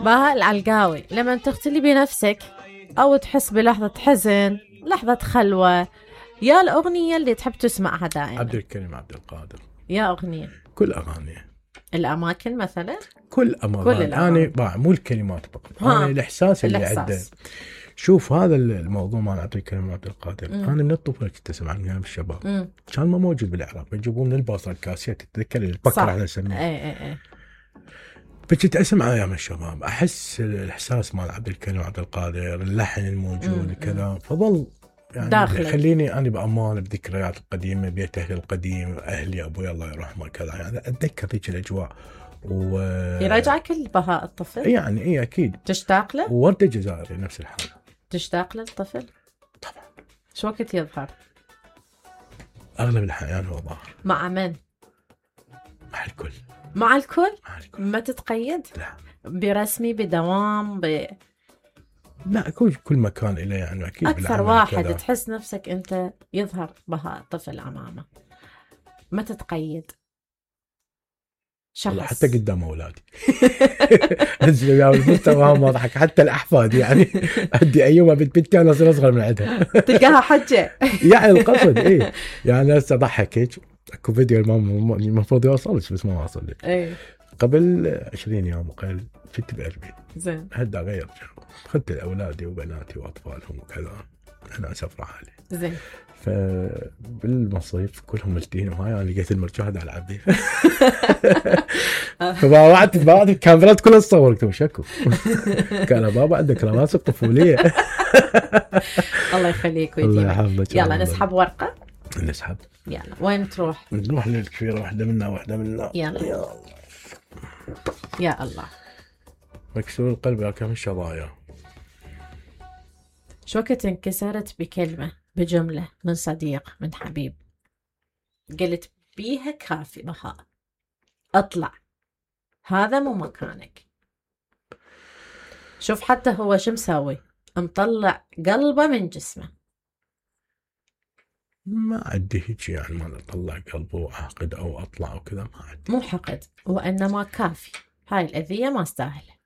بهاء العلقاوي، لما تختلي بنفسك أو تحس بلحظة حزن، لحظة خلوة، يا الأغنية اللي تحب تسمعها دائما؟ عبد الكريم عبد القادر. يا أغنية؟ كل أغانيه. الأماكن مثلا؟ كل أغاني. أنا مو الكلمات فقط، أنا الإحساس اللي عنده. شوف هذا الموضوع مع عبد الكريم عبد القادر، أنا من الطفولة كنت أسمع من أيام الشباب، كان ما موجود بالعراق، يجيبوه من الباصرة الكاسيت، تتذكر البكرة احنا نسميه. فكنت أسمع أيام الشباب، أحس الإحساس مع عبد الكريم عبد القادر، اللحن الموجود كذا، فظل يعني خليني أنا بأمان بذكريات القديمة، بيت أهلي القديم، أهلي أبوي الله يرحمه كذا، يعني أتذكر ذيك الأجواء. يرجعك البهاء الطفل؟ يعني إيه أكيد. تشتاق له؟ وردة جزائري نفس الحال. تشتاق للطفل؟ طبعا. شو وقت يظهر؟ أغلب الأحيان هو ظاهر. مع من؟ مع الكل. مع الكل؟ مع الكل. ما تتقيد؟ لا. برسمي بدوام لا، كل مكان إله يعني أكيد. أكثر واحد كدا تحس نفسك أنت يظهر بهاء الطفل أمامه، ما تتقيد شخص. حتى قدام أولادي أنزل وياهم المستوى ما أضحك، حتى الأحفاد يعني أدي أيوة بنتي أنا أصغر من عندها تلقاها حجة يعني القصد إيه يعني. هسه ضحكك أكو فيديو المفروض يوصلش بس ما وصل لي. قبل 20 يوم وقال فت بقلبي زين هدا غير أخذت أولادي وبناتي وأطفالهم وكذا، أنا أسافر حالي زين. فبالمصيف كلهم ملتين وهاي أنا لقيت المرجحة على عبدي فبعد الكاميرات كلها تصور قلت شكو قال بابا عندك رواسب طفولية الله يخليك ويديمك. يلا نسحب ورقة. نسحب. يلا وين تروح؟ نروح للكبيرة، واحدة منا يلا. يا الله. مكسور القلب يا كم الشظايا. شو وقت انكسرت بكلمة بجملة من صديق من حبيب قلت بيها كافي بهاء اطلع، هذا مو مكانك؟ شوف حتى هو شو مسوي، مطلع قلبه من جسمه. ما عندي هيك يعني ما اطلع قلبه وأحقد او اطلع وكذا، ما عندي. مو حقد، وانما كافي، هاي الاذية ما استاهله.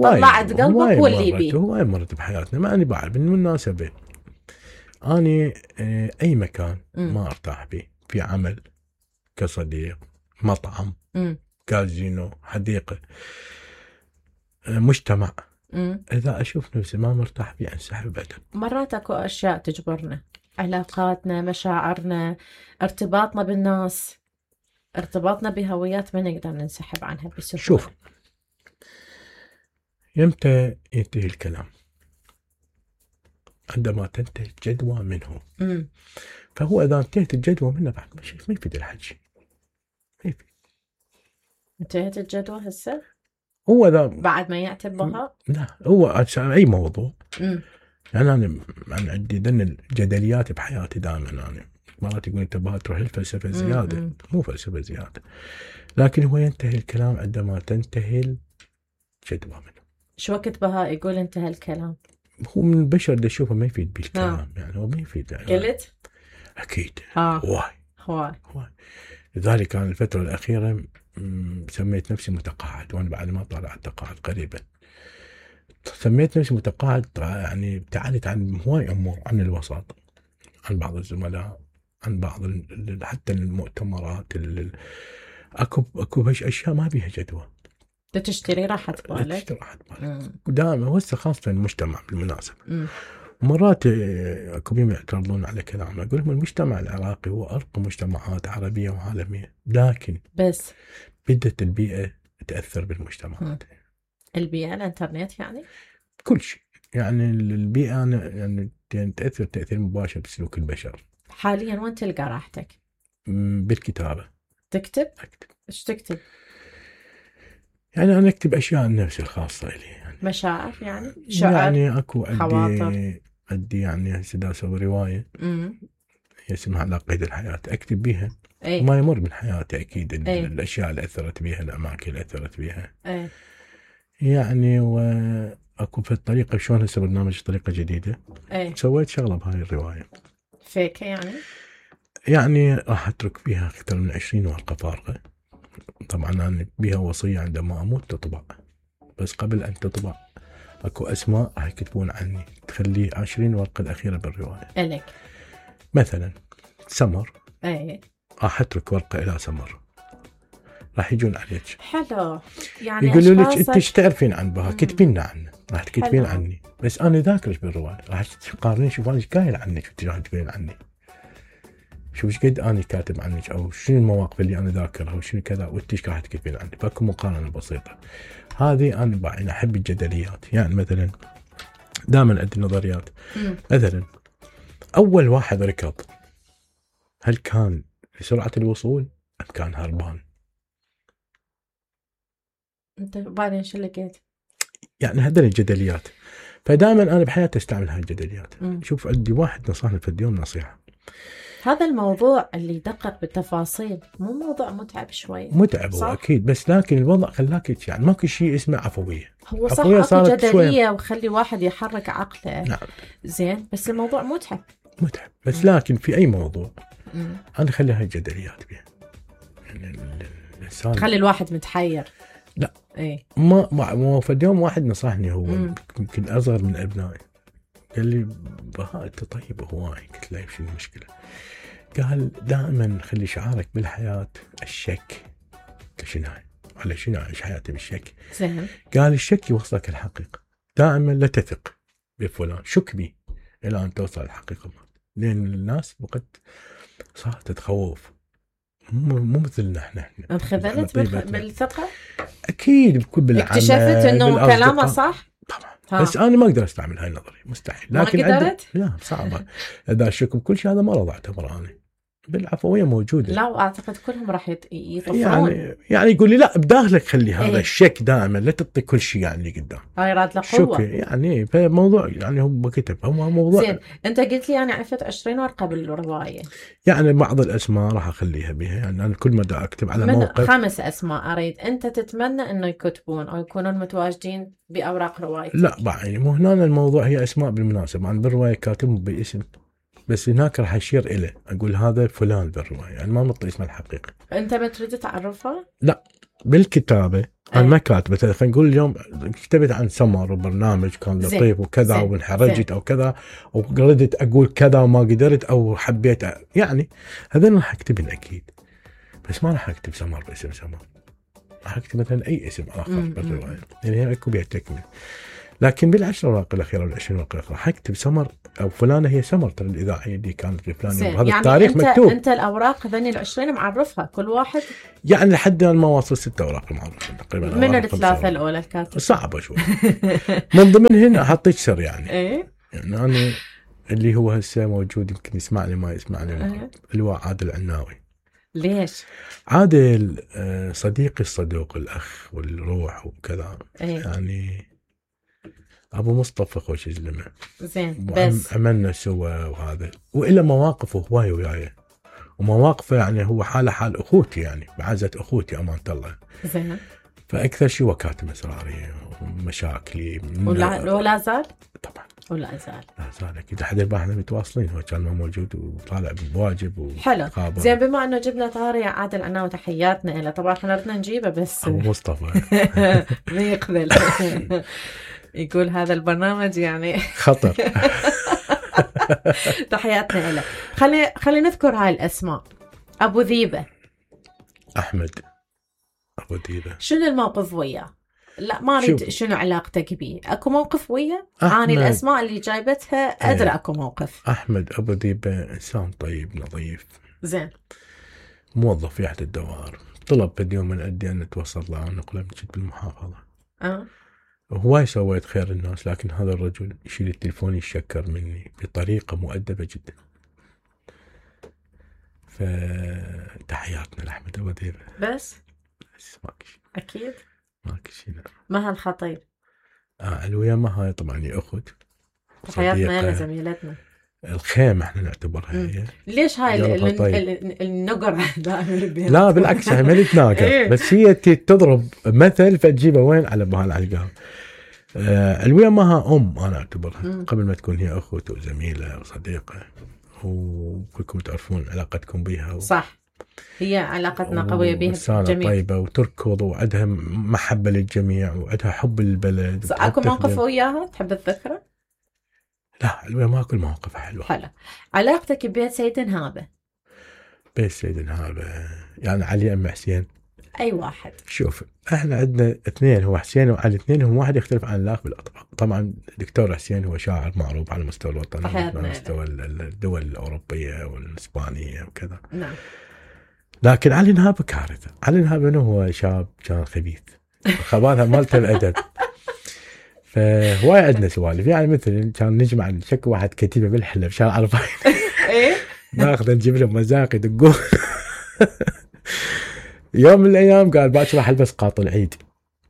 طلعت قلبك واللي بيه. هواي مرت بحياتنا، ما أنا بعرف بالمناسبة أنا أي مكان ما أرتاح به، في عمل، كصديق، مطعم، كازينو، حديقة، مجتمع، إذا أشوف نفسي ما مرتاح فيه أنسحب أبدا. مرات أكو أشياء تجبرنا، علاقاتنا، مشاعرنا، ارتباطنا بالناس، ارتباطنا بهويات ما نقدر ننسحب عنها بسهولة. شوف يمتى ينتهي الكلام؟ عندما تنتهي الجدوى منه. فهو إذا انتهت الجدوى منه بعد ما يفيد الحكي، ما يفيد. انتهت الجدوى هسه؟ هو إذا بعد ما يعتب بها؟ لا، هو أي موضوع. يعني أنا عندي ذن الجدليات بحياتي دائما. أنا مرات يقول أنت بها تروح الفلسفة زيادة. مو فلسفة زيادة، لكن هو ينتهي الكلام عندما تنتهي الجدوى منه. شو وقت بهاء يقول انتهى الكلام؟ هو من البشر اللي يشوفه ما يفيد بالكلام. يعني هو ما يفيد يعني. قلت؟ أكيد. هواي. لذلك كان الفترة الأخيرة سميت نفسي متقاعد، وأنا بعد ما طلعت تقاعد قريبا. سميت نفسي متقاعد، يعني ابتعدت عن هواي أمور، عن الوسط، عن بعض الزملاء، عن بعض حتى المؤتمرات. أكو أشياء ما بيها جدوى. تشتري راحة بالك. دائما وهسه خاصة المجتمع بالمناسبة. مرات اكو بيهم يعترضون على كلامنا، اقول لهم المجتمع العراقي هو ارقى مجتمعات عربية وعالمية، لكن بس بدت البيئة تأثر بالمجتمعات. البيئة الانترنت يعني كل شيء، يعني البيئة يعني تأثر تأثير مباشر بسلوك البشر. حاليا وين تلقى راحتك؟ بالكتابة. تكتب؟ أكتب. ايش تكتب؟ يعني أنا أكتب أشياء عن نفسي الخاصة إلي، يعني مشاعر، يعني شعر، يعني أكو خواطر. أدي يعني هسه أسوي رواية اسمها على قيد الحياة، أكتب بيها أي. ما يمر من حياتي أكيد. الأشياء اللي أثرت بيها، الأماكن اللي أثرت بيها. يعني وأكو في الطريقة شلون هسه برنامج طريقة جديدة. سويت شغلة بهاي الرواية فيك يعني راح أترك فيها أكثر من 20 ورقة فارغة، طبعا أنا بيها وصية عندما أموت تطبع، بس قبل أن تطبع أكو أسماء راح يكتبون عني، تخلي 20 ورقة الأخيرة بالرواية إلك. مثلا سمر، اي راح أترك ورقة إلى سمر، راح يجون عليك حلو، يعني يقولوا لك أنت ايش تعرفين عن بها، كتبين عنه، راح تكتبين عني، بس أنا ذاكرش بالرواية، راح تقارنين شوف أنا ايش قايل عنك وانت راح تقولين عني، شوف ايش قد أنا كاتب عنك أو شنو المواقف اللي أنا ذاكرها وشنو كذا، وانت ايش راح تكتبين عني، فاكو مقارنة بسيطة. هذه أنا أحب الجدليات، يعني مثلا دائما أدي نظريات. مثلا أول واحد ركض هل كان لسرعة الوصول أم كان هربان؟ أنت بعدين شو لقيت؟ يعني هذول الجدليات، فدائما أنا بحياتي أستعمل هاي الجدليات. شوف عندي واحد نصحني في اليوم نصيحة، هذا الموضوع اللي يدقق بالتفاصيل مو موضوع متعب شوي؟ متعب هو أكيد، بس لكن الوضع خلاك يعني ماكو شيء اسمه عفوية. هو صح أكو جدلية وخلي واحد يحرك عقله. نعم. زين، بس الموضوع متعب بس لكن في أي موضوع أنا خلي هاي الجدليات بيها، يعني الإنسان خلي الواحد متحير. لا ايه ما في اليوم واحد نصحني، هو يمكن أصغر من أبنائي، قال لي بهاء أنت طيب هواي، قلت له شنو المشكلة؟ قال دائما خلي شعارك بالحياة الشك. شنو هاي؟ على شنو عايش حياتي بالشك؟ زين. قال الشك يوصلك الحقيقة، دائما لا تثق بفلان، شك بي إلى أن توصل الحقيقة، لأن الناس وقت صارت تتخوف، مو مثلنا احنا انخذلت بالثقة؟ أكيد بكل بالعمل، اكتشفت إنه كلامه صح؟ طبعا. بس أنا ما أقدر أستعمل هاي النظرية، مستحيل. لكن ما قدرت؟ لا صعبة. إذا أشك بكل شيء هذا ما راح أعتبره أنا. بالعفوية موجودة. لا، وأعتقد كلهم راح يطفرون. يعني يقول لي لا بداخلك خلي هذا الشك دائما، لا تعطي كل شيء يعني قدام. هاي راد له قوة. يعني فموضوع يعني هو كتب هو موضوع. زين، أنت قلت لي أنا عرفت 20 ورقة بالرواية. يعني بعض الأسماء راح أخليها بها، يعني أنا كل مدى أكتب على من موقف 5 أسماء أريد أنت تتمنى إنه يكتبون أو يكونون متواجدين بأوراق روايتك. لا يعني مو هنا الموضوع، هي أسماء بالمناسبة، أنا بالرواية كاتبهم باسم، بس هناك راح أشير إليه، أقول هذا فلان بالرواية، يعني ما نطلع اسمه الحقيقي. أنت ما تريد تعرفها؟ لا بالكتابة أنا ما كاتبة، خلينا نقول اليوم كتبت عن سمر وبرنامج كان لطيف وكذا وانحرجت أو كذا، وقردت أقول كذا وما قدرت أو حبيت، يعني هذا راح أكتبن أكيد، بس ما راح أكتب سمر باسم سمر، راح أكتب مثلا أي اسم آخر بالرواية، يعني هي أكو بيها تكمل. لكن بالعشر ورقة الأخيرة والعشرين ورقة الأخيرة حكتب سمر أو فلانة هي سمر ترى الإذاعية دي كانت في فلان يوم، هذا يعني التاريخ مكتوب. أنت الأوراق ذني ال20 معرفها كل واحد؟ يعني لحد ما واصل 6 أوراق معرفة تقريبا. من الثلاثة الأولى الكاتب صعبة شوي. من ضمنهن أحطيك سر يعني. إيه؟ يعني أنا اللي هو هسه موجود يمكن يسمعني ما يسمعني، اللي هو عادل عناوي. ليش؟ عادل صديقي الصدوق، الأخ والروح وكذا. يعني أبو مصطفى خوش زلمة. زين، بس عملنا سوا وهذا، وإلا مواقفه هواي وياي، ومواقفه يعني هو حاله حال أخوتي، يعني بعزة أخوتي أمانة الله. زين. فأكثر شيء هو كاتم أسراري ومشاكلي. ولا زال؟ طبعا. ولا زال. لا زال أكيد، لحد البارح احنا متواصلين، هو كان ما موجود وطالع بواجب حلو. زين، بما أنه جبنا طاري عادل عناوي تحياتنا له، طبعا احنا ردنا نجيبه بس أبو مصطفى ما يقبل. يقول هذا البرنامج يعني خطر. تحياتنا له. خلي نذكر هاي الأسماء. أبو ذيبة، أحمد أبو ذيبة، شنو الموقف وياه؟ لا ما أريد شنو علاقتك بيه، أكو موقف وياه؟ أنا الأسماء اللي جايبتها أدرى أكو موقف. أحمد أبو ذيبة إنسان طيب نظيف. زين. موظف في أحد الدوائر، طلب في اليوم من أدي أن نتوصل له ونقله من بالمحافظة. هواي سويت خير الناس، لكن هذا الرجل يشيل التليفون يشكر مني بطريقة مؤدبة جدا. فتحياتنا لأحمد أبو ذيبة. بس ماكش أكيد ماكش هنا. ما هالخطير. الويا ما هاي طبعا هي أخت. تحياتنا لزميلتنا الخيمة احنا نعتبرها هي. ليش هاي النقر دائما؟ لا بالعكس هي ما تناقر، بس هي تضرب مثل فتجيبه وين على بهالعلقة. الويا ماها أنا أعتبرها قبل ما تكون هي أخوة وزميلة وصديقة، وكلكم تعرفون علاقتكم بيها صح. هي علاقتنا قوية بها جميل. طيبة وتركض وعندها محبة للجميع وعندها حب للبلد. اكو موقف وياها تحب تذكره؟ لا ما كل مواقف حلوة. حلو. علاقتك ببيت سيد نهابة؟ بيت سيد نهابة يعني علي أم حسين؟ أي واحد. شوف احنا عندنا اثنين، هو حسين وعلي، اثنين هم واحد يختلف عن الاخر بالاطباق. طبعا الدكتور حسين هو شاعر معروف على مستوى الوطن وعلى مستوى الدول الأوروبية والإسبانية وكذا. نعم. لكن علي نهابة كارثة. علي نهابة هو شاب كان خبيث، خباثة مالته الأدب. فهواي عندنا سوالف، يعني مثل كان نجمع نشك واحد كتيبة بالحلة بشارع 40 ايه ناخذ نجيب له مزاق يدقون. يوم من الأيام قال باكر راح ألبس قاط العيد.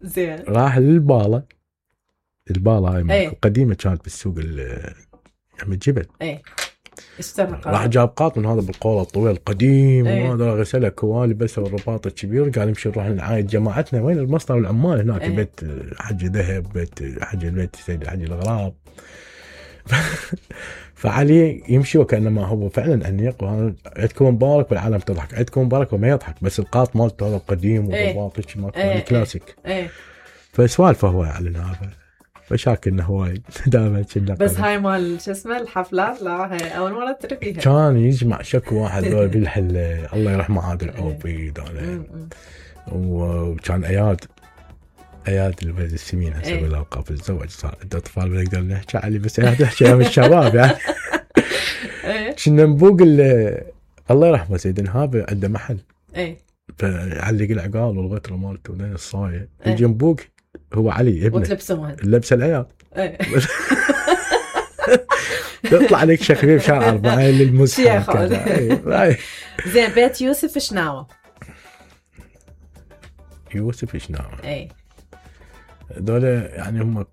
زين. راح للبالة هاي ايه؟ قديمة كانت بالسوق عم جبل. ايه اشترى راح جاب قاط من هذا بالقولة الطويل القديم. ايه؟ وهذا غسله كوالي بس والرباط الكبير. قال نمشي نروح نعايد جماعتنا وين المصنع والعمال هناك. ايه؟ بيت حج ذهب، بيت حج البيت سيد حج الغراب. فعلي يمشي وكأنما هو فعلا أنيق. عندكم مبارك والعالم تضحك، عندكم مبارك وما يضحك، بس القاط مالته هذا القديم والرباط هيك مالته كلاسيك. فسوالفه هو على هذا. فشاكلنا هواي دائما كنا. بس هاي مال شو اسمه الحفلات، لا هاي اول مره تدري فيها. كان يجمع شكو واحد ذول بالحله. الله يرحمه عادل عوبيد وكان اياد الولد السمين هسه بالالقاب تزوج صار عنده اطفال بنقدر نحكي عليه، بس اياد يحكي من الشباب يعني. كنا نبوق الله يرحمه سيد نهابه عنده محل. فعلق العقال والغتره مالته ولين الصايه يجي نبوق هو علي ابنه وتلبسه لبس العيال. تطلع عليك شخبيب شارع 40 للمزحف. زين. بيت يوسف شناوة؟ يوسف شناوة دول يعني هم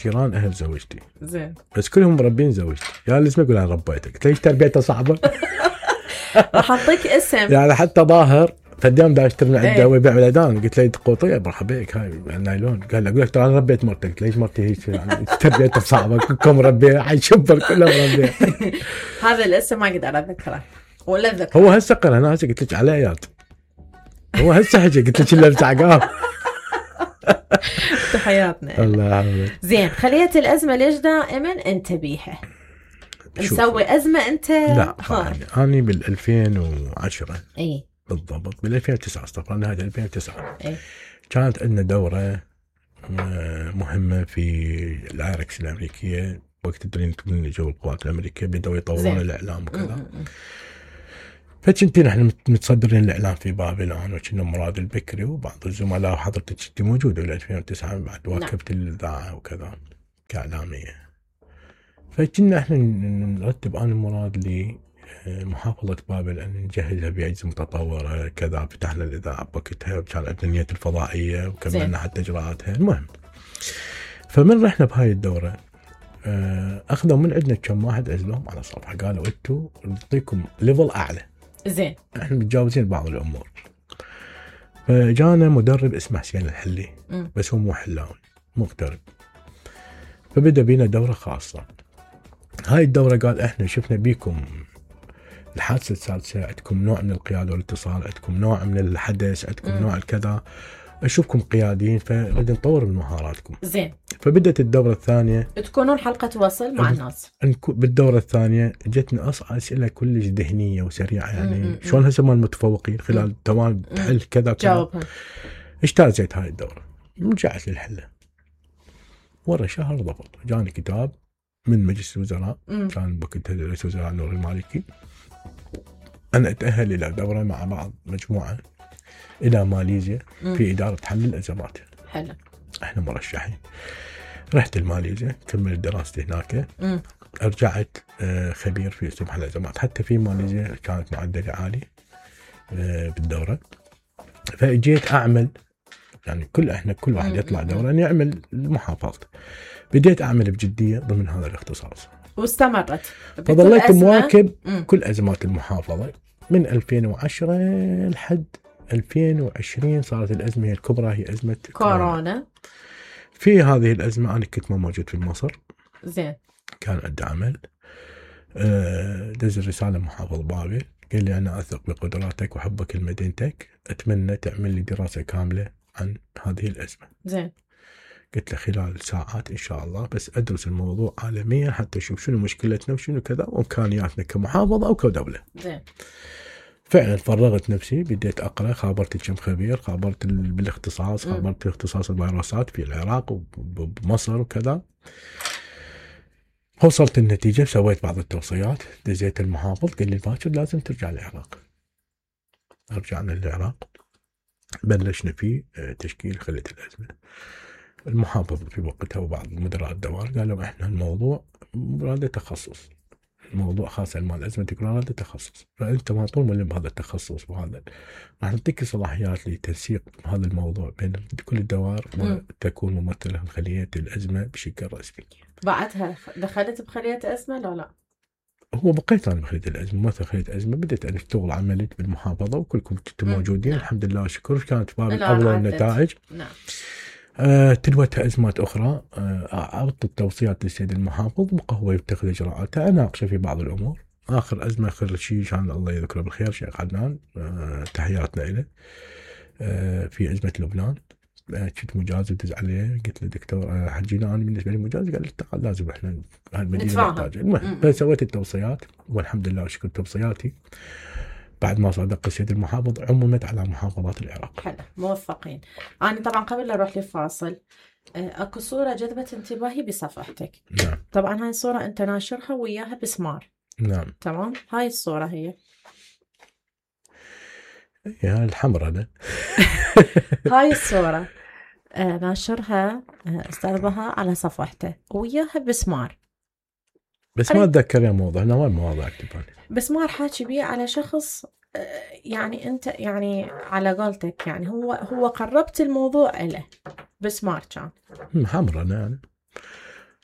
جيران اهل زوجتي. زين. بس كلهم مربين زوجتي. يا لازم اقول انا ربيتك ليش تربيته صعبه. راح اعطيك اسم يعني حتى ظاهر فدام دا اشتري من عنده ويبيع بالعيدان. قلت له قوطيه مرحبا بك هاي النايلون. قال له اقول لك ترى انا ربيت مرتك. ليش مرتي هيك يعني تربيتها صعبه كلكم مربيه حيشبر كلهم مربيه. هذا الاسم ما اقدر اذكره ولا اذكره. هو هسه قال انا هسه قلت لك على اياد. هو هسه حكي قلت لك الا بتعقاب. تحياتنا. الله يعافيك. زين. خلية الازمه ليش دائما انت بيها؟ مسوي ازمه انت؟ لا انا بال 2010 اي بالضبط بال 2009 استغفر الله نهاية 2009 اي كانت عندنا دورة مهمة في العراكس الأمريكية. وقت تدرين تكون جو القوات الأمريكية بدأوا يطورون الإعلام وكذا. فكنت نحن متصدرين الإعلام في بابل وكنا مراد البكري وبعض الزملاء وحضرتك كنت موجودة بال 2009 بعد واكبت الإذاعة وكذا كإعلامية. فكنا احنا نرتب أنا مراد لي محافظة بابل أن نجهزها بأجهزة متطورة كذا. فتحنا الإذاعة بوقتها وكان عندنا نية الفضائية وكملنا حتى إجراءاتها. المهم فمن رحنا بهاي الدورة أخذوا من عندنا كم واحد عزلهم على صفحة قالوا أنتوا نعطيكم ليفل أعلى. زين. احنا متجاوزين بعض الأمور. فجانا مدرب اسمه حسين الحلي بس هو مو حلاوي مغترب. فبدأ بينا دورة خاصة. هاي الدورة قال احنا شفنا بيكم الحادثة السادسة، عندكم نوع من القيادة والاتصال، عندكم نوع من الحدث، عندكم نوع الكذا، أشوفكم قياديين فنريد نطور من مهاراتكم. زين. فبدأت الدورة الثانية تكونون حلقة وصل مع الناس. بالدورة الثانية جتنا أسئلة كلش ذهنية وسريعة يعني شلون هسه مال المتفوقين خلال توان تحل كذا جاوبها. اجتازت هاي الدورة. رجعت للحلة ورا شهر ضبط جاني كتاب من مجلس الوزراء. كان وقتها رئيس الوزراء نور المالكي أنا أتأهل إلى دورة مع بعض مجموعة إلى ماليزيا في إدارة حل الأزمات. حلو. إحنا مرشحين. رحت لماليزيا كملت دراستي هناك. رجعت خبير في أسلوب حل الأزمات. حتى في ماليزيا كانت معدلي عالي بالدورة. فأجيت أعمل يعني كل واحد يطلع دورة أن يعمل محافظته. بديت أعمل بجدية ضمن هذا الاختصاص واستمرت. فظليت مواكب كل أزمات المحافظة من 2010 لحد 2020. صارت الأزمة الكبرى هي أزمة كورونا. في هذه الأزمة أنا كنت ما موجود في مصر. زين. كان عندي عمل دز الرسالة محافظ بابل قال لي أنا أثق بقدراتك وحبك لمدينتك، أتمنى تعمل لي دراسة كاملة عن هذه الأزمة. زين. قلت له خلال ساعات إن شاء الله، بس أدرس الموضوع عالميا حتى أشوف شنو مشكلتنا وشنو كذا وإمكانياتنا كمحافظة أو كدولة. زين. فعلا فرغت نفسي، بديت أقرأ، خابرت كم خبير، خابرت بالاختصاص، خابرت اختصاص الفيروسات في العراق وبمصر وكذا. وصلت النتيجة، سويت بعض التوصيات، دزيت المحافظ، قال لي باكر لازم ترجع العراق. رجعنا للعراق، بلشنا في تشكيل خلية الأزمة. المحافظ في وقتها وبعض مدراء الدوائر قالوا احنا الموضوع هذا تخصص، الموضوع خاصة مال أزمة تكرار هذا تخصص، فأنت ما طول ملم بهذا التخصص، وهذا راح نعطيك صلاحيات لتنسيق هذا الموضوع بين كل الدوائر وتكون ممثلة خلية الأزمة بشكل رسمي. بعدها دخلت بخلية أزمة لا؟ هو بقيت أنا بخلية الأزمة، ممثل خلية الأزمة، بديت أنا أشتغل عملت بالمحافظة وكلكم كنتم موجودين. الحمد لله شكر، كانت باب الأفضل النتائج. نعم. تلوتها أزمات أخرى، أعطت التوصيات للسيد المحافظ، بقى هو يتخذ إجراءاته، أناقشه في بعض الأمور. آخر أزمة آخر شيء كان الله يذكره بالخير شيخ عدنان، تحياتنا له، في أزمة لبنان. كنت مجاز ودز عليه، قلت له دكتور حجينا أنا بالنسبة لي مجاز، قال لي تعال لازم إحنا هالمدينة نحتاجها. المهم فسويت التوصيات والحمد لله شكر توصياتي بعد ما صادق السيد المحافظ عممت على محافظات العراق. حلو، موفقين. أنا طبعا قبل لا أروح للفاصل أكو صورة جذبت انتباهي بصفحتك. نعم. طبعا هاي الصورة أنت ناشرها وياها بسمار. نعم. تمام. هاي الصورة هي يا الحمراء ده. هاي الصورة ناشرها أستاذ بهاء على صفحته وياها بسمار، بس ما أتذكر يا موضوع، أنا وين مواضيع أكتبها بسمار حاكي بيه على شخص، يعني أنت يعني على قولتك يعني هو قربت الموضوع له بسمار كان حمراء يعني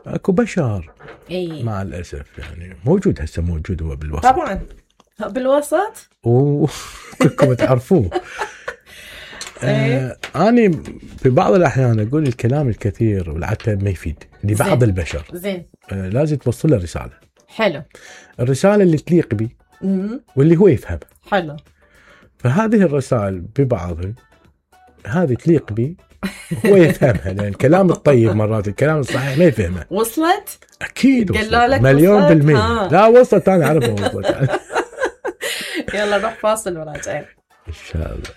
اكو بشر. إيه؟ مع الأسف يعني موجود، هسه موجود هو بالوسط طبعا بالوسط وكلكم تعرفوه. أنا في بعض الأحيان أقول الكلام الكثير والعتب ما يفيد لبعض البشر. زين. لازم توصل له رسالة. حلو. الرسالة اللي تليق بي واللي هو يفهمها. حلو. فهذه الرسائل ببعضها هذه تليق بي هو يفهمها، لأن الكلام الطيب مرات الكلام الصحيح ما يفهمه. وصلت؟ أكيد وصلت. لك مليون بالمية. لا وصلت، أنا أعرفها وصلت. يلا نروح فاصل وراجعين إن شاء الله.